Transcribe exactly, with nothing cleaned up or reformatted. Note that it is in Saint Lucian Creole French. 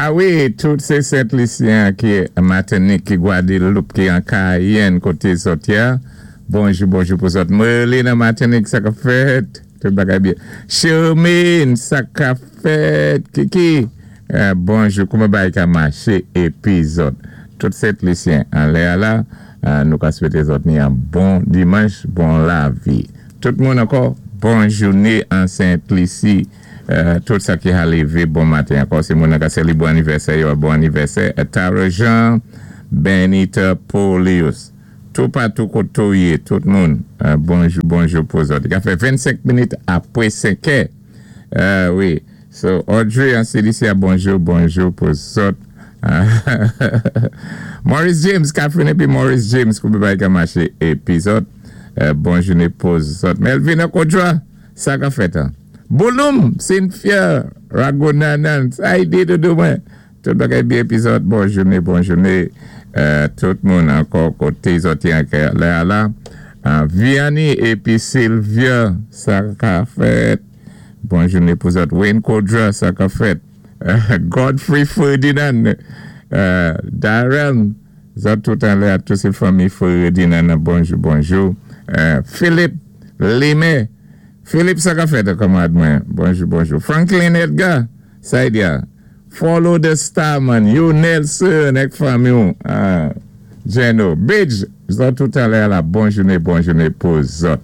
A wi, tout sé Sent Lisyen ki Matinik, ki Gwadloup, ki an Kayèn, koté zòt ya. Bonjou, bonjou pou zòt. Merlin an Matinik, sa ka fèt? Tout bagay byen. Shermaine, sa ka fèt? Kiki? Euh, bonjou, kouman bagay ka maché épi zòt? Tout Sent Lisyen anlè a la, euh, nou ka swété zòt ni an bon dimanch, bon lavi. Tout moun ankò, bon jouné an Sent Lisi. Euh, tout sa ki a lévé, bon maten ankò. Si moun ka sélébré anivèsè, yo, bon anivèsè. Tara Jean, Benita Polius. Tout patou koté ou yé, tout moun. Euh, bonjou, bonjou pou zòt. Li ka fè vennsenk minit apwé senk è. Euh, wi. So, Audrey an C D C, bonjou, bonjou pou zòt. Maurice James, Catherine épi Maurice James, kouman bagay ka maché épi zòt. Euh, bon jouné pou zòt. Melvin Akodra, sa ka fèt, hein? Bouloum, Cynthia, Ragonanan, sa yi di doudou mwen? Tout bagay byen épi zòt, bon jouné, bon jouné. Euh, tout moun ankò koté zòt an lè a la. Euh, Vianney épi Sylvia, sa ka fèt? Bon jouné pou zòt. Wayne Kodra, sa ka fèt? Euh, Godfrey Ferdinand, euh, Darren, zòt tout anlè a, tout sé fanmi Ferdinand, bonjou, bonjou. Euh, Philippe Limé, Philippe, sa ka fèt, kanmarad mwen? Bonjou, bonjou. Franklin Edgar, sa yi di a? Follow the star man, you Nelson, èk fanmi ou. Ah, Jeno, Bidge, zòt tout anlè a la, bon jouné, bon jouné pou zòt.